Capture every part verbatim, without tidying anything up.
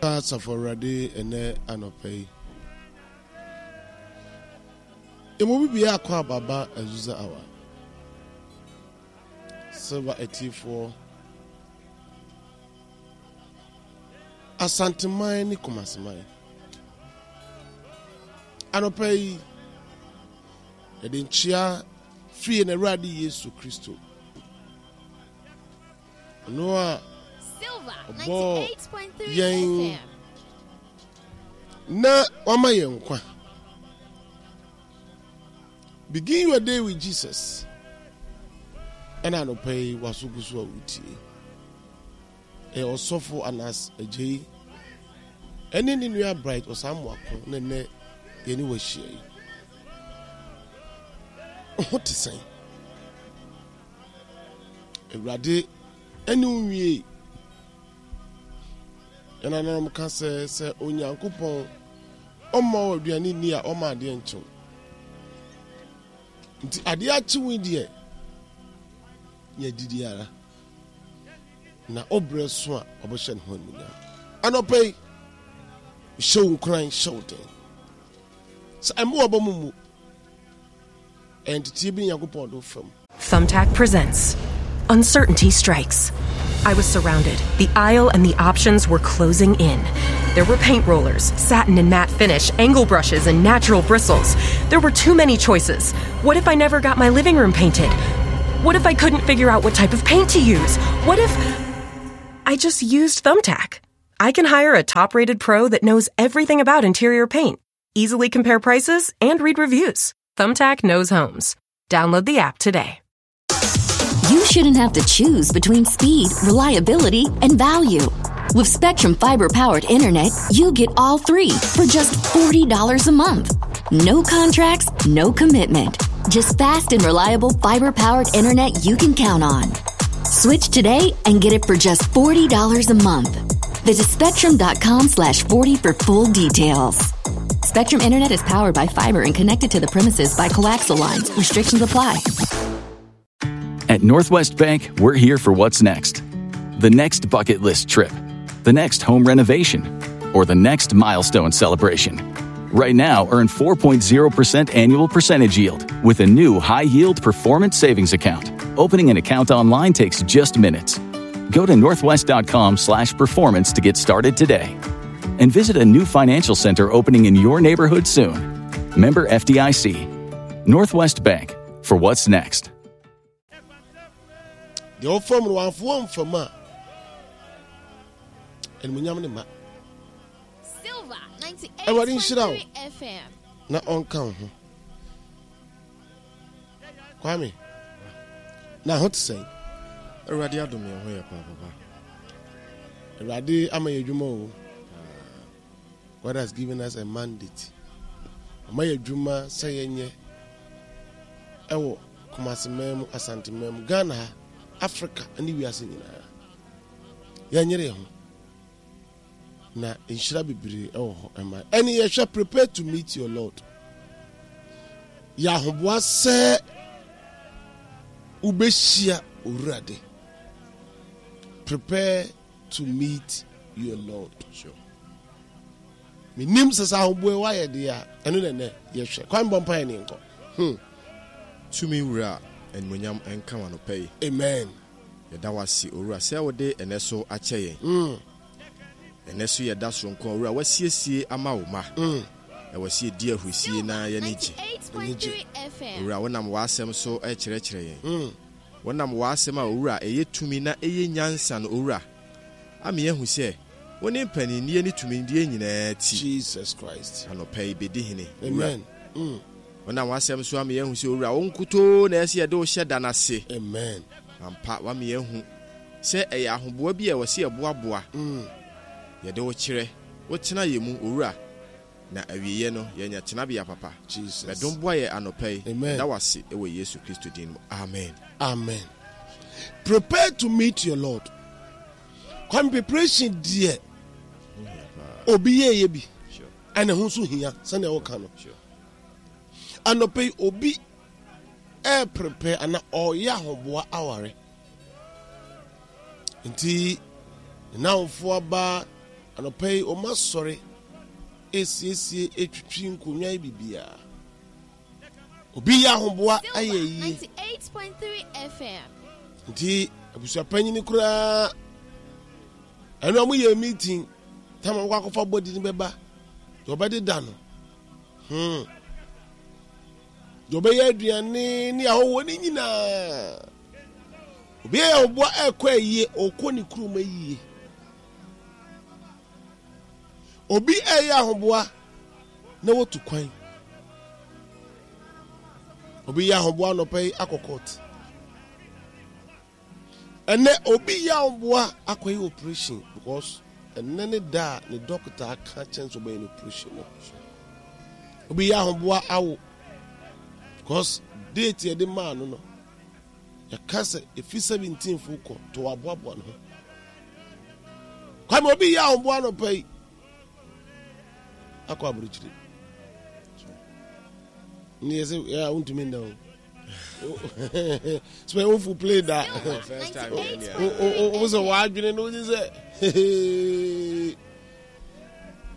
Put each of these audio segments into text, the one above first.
Asafo Awurade ɛnɛ anɔpa yi. Emu bi bia akɔ ababa Azusa Hour. Silver atiefoɔ. Asanteman ne Kumaseman. Anɔpa yi, yɛde nkyea firi yɛn Awurade Yesu Kristo. Ɔno a ɔbɔɔ yɛn na wama yɛn nkwa. Begin your day with Jesus. Ɛna anɔpa yi waso gu so a wotie. Ɛyɛ ɔsɔfo Anas Agyei ɛne ne nua Bright Ɔsamoako na ɛnɛ yɛne wahyia yi. Ho te sɛn? Awurade ɛne wo nwie. Yɛn nananom ka sɛ sɛ Onyankopɔn ɔmma wo aduane nni a ɔma adeɛ nkyew. Nti adeɛ akye wo deɛ yɛ didi ara. Na ɔbrɛ so a ɔbɛhyɛ ne ho animuonyam. Anɔpa yi, hyɛ wo nkuran, hyɛ wo den. Sɛ ɛmo wɔ mu mu, ɛnteteɛ bi Nyankopɔn do fam. Thumbtack presents Uncertainty Strikes. I was surrounded. The aisle and the options were closing in. There were paint rollers, satin and matte finish, angle brushes, and natural bristles. There were too many choices. What if I never got my living room painted? What if I couldn't figure out what type of paint to use? What if. I just used Thumbtack? I can hire a top rated pro that knows everything about interior paint, easily compare prices, and read reviews. Thumbtack knows homes. Download the app today. You shouldn't have to choose between speed, reliability, and value. With Spectrum Fiber powered internet, you get all three for just forty dollars a month. No contracts, no commitment. Just fast and reliable fiber powered internet you can count on. Switch today and get it for just forty dollars a month. Visit spectrum.com slash forty for full details. Spectrum Internet is powered by fiber and connected to the premises by coaxial lines. Restrictions apply. At Northwest Bank, we're here for what's next. The next bucket list trip, the next home renovation, or the next milestone celebration. Right now, earn four point zero percent annual percentage yield with a new high-yield performance savings account. Opening an account online takes just minutes. Go to northwest.com slash performance to get started today. And visit a new financial center opening in your neighborhood soon. Member F D I C. Northwest Bank, for what's next. The old form one form for ma. And we ma. Silver ninety-eight Awurade nhyira wo. point three F M. Na ɔnka wo ho. Kwame. Na ho te sɛn? Awurade adom yɛn ho yɛ paa, papa. Awurade ama yɛ adwuma o. God has given us a mandate. Ama yɛ adwuma sɛ yɛnyɛ ɛwɔ Kumasi mu, Asante mu, Ghana ha, Africa ne wiase nyinaa. Yɛnyere yɛn ho. Na nhyira bebree ɛwɔ hɔ ɛma. Ɛne yɛhwɛ prepare to meet your Lord. Yɛ ahoboa sɛ wobɛhyia Owurade. Prepare to meet your Lord. Sure. Menim sɛ sɛ ahoboa wayɛ deɛ a, ɛno na ɛnɛ yɛhwɛ. Kwan bɔ mpaeɛ ne nkɔ. Hmm. Tumi wura animuonyam nka wo anɔpa yi. Amen. Yɛda wo ase owura sɛ wode ɛnɛ so akyɛ yɛn. Mm. Ɛnɛ so yɛda soronko a owura wasiesie ama wo ma. Mm. Ɛwɔ sɛ yɛdi ahurisie na yɛne gye. ninety-eight point three F M. Owura wonam w'asɛm so ɛkyerɛkyerɛ yɛn. Mm. Wonam w'asɛm a owura ɛyɛ tumi na ɛyɛ nyansa no owura. Ama yɛahu sɛ wo ne mpaninnie ne tumidie nyinaa ti. Jesus Christ. Anɔpa yi bɛdi hene. Amen. Mm. Wonam w'asɛm so ama yɛahu sɛ owura wo nkutoo na ɛsɛ yɛde wo hyɛ da n'ase. Amen. Ampa wama yɛahu sɛ ɛyɛ ahoboa bi a ɛwɔ sɛ yɛboaboa. Mm. Yɛde wo kyerɛ, wo tena yɛ mu owura. Na awieeɛ no yɛnya tenabea papa. Jesus. Bɛdom boa yɛ anɔpa yi. Amen. Yɛda wo ase wɔ Yesu Kristo din mu. Amen. Amen. Prepare to meet your Lord. Kwan preparation deɛ obi yɛ yɛ bi. Sure. Ɛna ho nso hia sɛnea wɔka no. Sure. Anɔpa yi obi ɛ prepare ana ɔyɛ ahoboa aware. Nti nnamfo aba, Anɔpa yi ɔma sɔre esiesie etwitwi nkonnwa yi biribiara. Obi yɛ ahoboa ayɛ Silver yie. ninety-eight point three F M. Nti abusuapanyin koraa ɛno a moyɛ meeting tama wɔkɔ akɔfa bɔdi no bɛba deɛ ɔbɛdeda no hmm deɛ ɔbɛyɛ aduane ne ahɔhoɔ no nyinaa. Obi yɛ ahoboa ɛkɔ ayie, ɔkɔ ne kurom ayie. Obi ɛyɛ ahoboa na watu kwan. Obi yɛ ahoboa anɔpa yi akɔ court. Ɛnɛ obi yɛ ahoboa akɔyɛ operation because ɛnɛ ne da a ne doctor aka kyɛn sɛ ɔbɛyɛ no operation no. Obi yɛ ahoboa awo because date yɛde maa no no yɛka sɛ efi seventeen fo kɔ to aboaboa ne ho. Kwame, obi yɛ ahoboa anɔpa yi akɔ aburokyire ne yɛ sɛ yɛ a wontumi nda o sɛ wofu play da First time yɛ nea. wo sɛ wɔadwene no wogye sɛ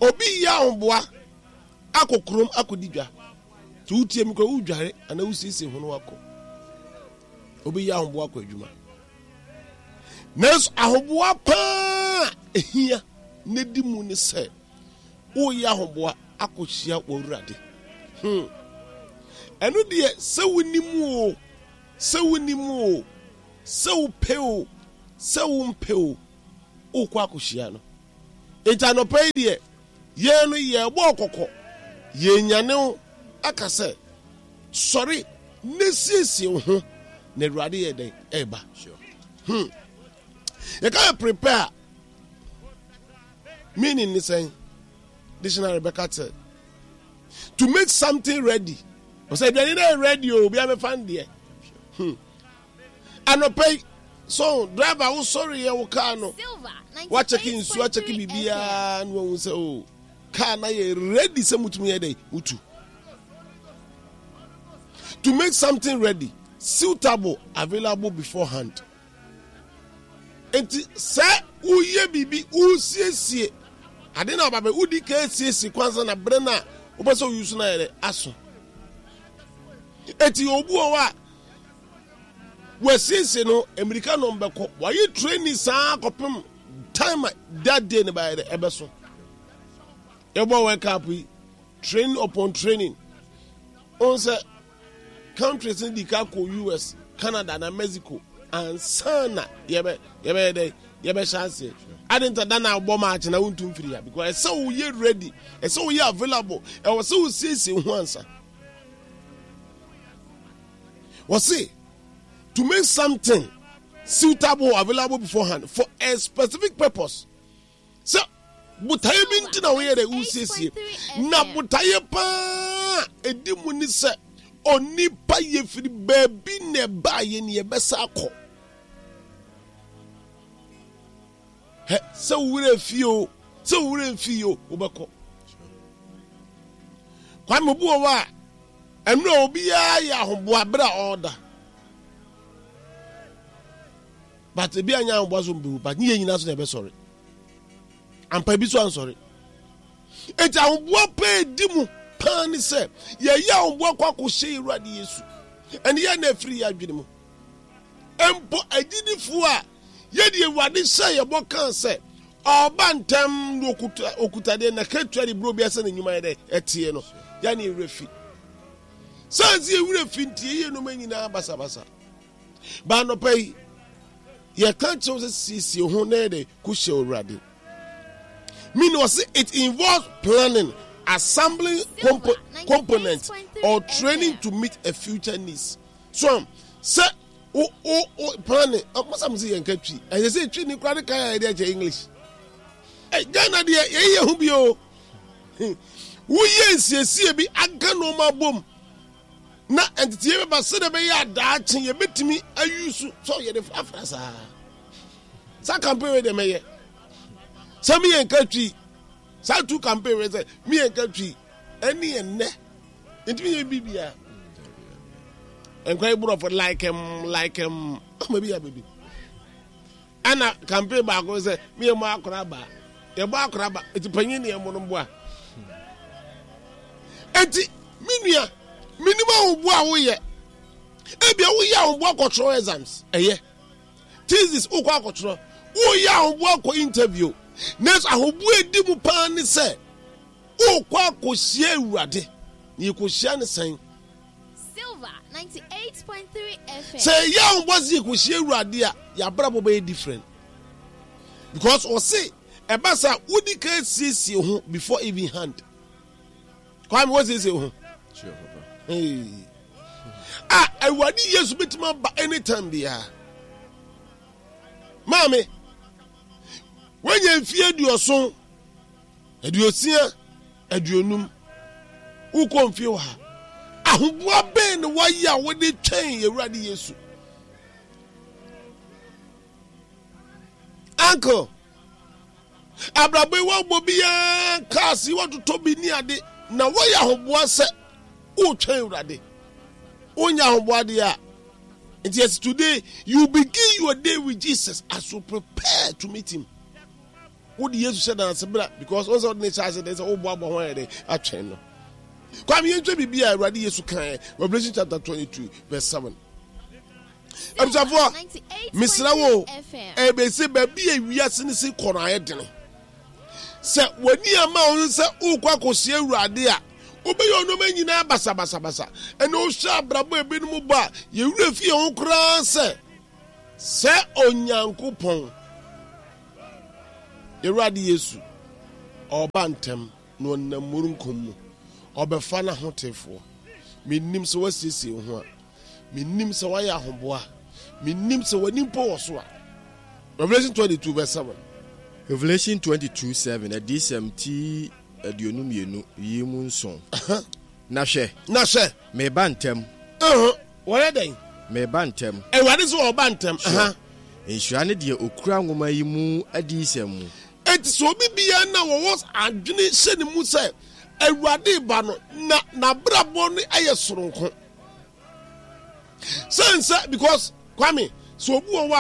obi yɛ ahoboa akɔ kurom akɔdi dwa nti wotie mi kora wodware anaa wosiesie ho no wakɔ. Obi yɛ ahoboa akɔ adwuma, nanso ahoboa paa ehia ne di mu ne sɛ woyɛ ahoboa akɔhyia w'Awurade hmm. Ɛno deɛ, sɛ wonim o, sɛ wonim o, sɛ wopɛ o, sɛ wompɛ o, wokɔ akɔhyia no. Nti anɔpa yi deɛ yɛn no yɛbɔ kɔkɔ, yɛnyane wo aka sɛ sɔre ne siesie wo ho na Awurade yɛ dɛn ɛreba hmm. Yɛka yɛ prepare, meaning ne sɛn? Dictionary bɛka sɛ to make something ready. Ɔsɛ aduane no yɛ ready o, obi abɛfa no deɛ hmm. Anɔpa yi so driver wo sɔre yɛ wo kaa no, wakyɛke nsuo, akyɛke biribiara na wahu sɛ o kaa na yɛ ready sɛ mutumi yɛ dɛ mutu. To make something ready, suitable, available beforehand. Nti sɛ woyɛ biribi, wosiesie ade na ɔba bɛ wodi ka esiesie kwansa na bere na wopɛ sɛ oyi so na yɛ dɛ aso. Eti obu wɔ hɔ a wɔasiesie no mmirika na ɔmbɛkɔ wɔayɛ training saa kɔpem time a that day ne bayɛ dɛ ɛbɛso. Yɛbɔ World Cup yi, training upon training ɔn sɛ countries no di ka kɔ U S, Canada na Mexico ansa na yɛbɛ yɛbɛyɛ dɛ yɛbɛhyɛ aseɛ. Ade nta da na abɔ match na wontum firi ha because ɛsɛ woyɛ ready, ɛsɛ woyɛ available, ɛwɔ sɛ wosiesie ho ansa. Wɔse to make something suitable or available beforehand for a specific purpose, sɛ botaeɛ bi nti na woyɛ dɛ wosiesie. Na botaeɛ paa ɛdi mu ne sɛ onipa yɛfiri baabi na ɛbaayɛ ne yɛbɛsa akɔ hɛ. Sɛ wo werɛ fie o, sɛ wo werɛ mfie o, wobɛkɔ. Kwame, obi wɔ hɔ a ɛno a obiara yɛ ahoboa berɛ a ɔreda, but ebi anya ahoboa so mbewu, but ne yɛ nyinaa so na ɛbɛsɔre ampa, ebi so ansɔre. Eti ahoboa paa edi mu paa ne sɛ yɛyɛ ahoboa kɔ akɔhyɛ Awurade Yesu. Ɛne yɛ na efiri yɛ adwene mu mpo agyidifoɔ a yɛde Awurade hyɛ yɛbɔ kan sɛ ɔba ntɛm na okuta okuta deɛ na ketua de buro bi asɛ ne nnwuma yɛ dɛ ɛteɛ no yɛne ewura fi sansi ewura fi nti yɛyɛ nneɛma nyinaa basabasa. Baanɔpa yi yɛka kyerɛw sɛ siesie ho na yɛde kɔhyɛ Awurade. Meaning ɔse it involves planning, assembling compo components or training to meet a future needs. So um, sɛ o o o planning ɔmasa mo sɛ yɛn ka Twi, ɛsɛ sɛ Twi ne kura ne kan a yɛde akyɛ English. Ɛ Ghana deɛ yɛyɛ ho bi o, woyɛ nsiesie bi aka nneɛma bom na nteteɛ bɛba sɛdeɛ ɛbɛyɛ adaakye yɛbɛtumi ayi so sɛ yɛde frafra saa saa campaign wei deɛ mɛyɛ sɛ meyɛ nka Twi saa two campaign wei sɛ meyɛ nka Twi ɛne yɛ nnɛ ntumi yɛ biribiara nkwa yi borɔfo like em like em ama bi yɛ baabi. Ɛna campaign baako sɛ meyɛ mu akora baa Yɛbɔ akora ba, eti panyin ne yɛn no mboa. Eti me nua, menim ahoboa a woyɛ. Ebia woyɛ ahoboa kɔtwerɛ exams, ɛyɛ. Thesis wokɔ akɔtwerɛ, woyɛ ahoboa kɔ interview. Nanso ahoboa edi mu paa ne sɛ wokɔ akɔhyia Awurade. Na yɛkɔhyia ne sɛn? Silver ninety-eight point three F M. Sɛ ɛyɛ ahoboa sɛ yɛkɔhyia Awurade a, yɛabrabɔ bɛyɛ different. Because ɔse ɛba sɛ wodi ka siesie ho before even hand. Kwame, wɔsiesie ho. Sure, papa. Hey. A Awurade Yesu bɛtumi aba anytime biara. Maame, woanya mfie aduɔson, aduosia, aduonum, wokɔ mfie wɔ ha, ahoboa bɛn na woayɛ a wode twɛn Awurade Yesu? Uncle, abrabɔ yi woabɔ biara, cars yi woatotɔ bi ne ade, na woayɛ ahoboa sɛ wotwɛn Awurade? Wonya ahoboa deɛ a, nti yes, today you begin your day with Jesus as you prepare to meet him. Wode Yesu hyɛ danse bra, because wɔn sɛ wode ne hyɛ ase de sɛ woboaboa ho ayɛ de atwɛn no. Kwame, yɛntwɛ biribi a Awurade Yesu kaeɛ, Revelation chapter twenty-two verse seven. Abusuafoɔ, mesrɛ wo, ɛbɛsɛ baabi a wiase no si kɔ no ayɛ dene. Sɛ w'ani ama wo sɛ wokɔ akɔhyia Awurade a, wobɛyɛ ɔnɔma nyinaa basabasabasa. Ɛna wohwɛ abrabɔ ebinom bɔ a, yɛwerɛ fi yɛn ho koraa sɛ sɛ Onyankopɔn Awurade Yesu ɔba ntɛm na ɔnam mmurunkum mu ɔbɛfa n'ahotefoɔ. Menim sɛ woasiesie wo ho a, menim sɛ woayɛ ahoboa, menim sɛ w'ani mpo wɔ so a. Revelation twenty-two verse seven. Revelation twenty-two seven, Adiyisɛm ti aduonu mmienu yi mu nson. Na hwɛ, Na hwɛ, meba ntɛm. Wɔyɛ dɛn? Meba ntɛm. Awurade sɛ ɔba ntɛm. Sure. Nhyira ne deɛ okura nwoma yi mu adiyisɛm mu. Enti sɛ obi biara na wɔwɔ adwene hyɛ ne mu sɛ Awurade ba no, na n'abrabɔ no yɛ soronko sɛn sɛ, because Kwame, sɛ obi wɔ hɔ a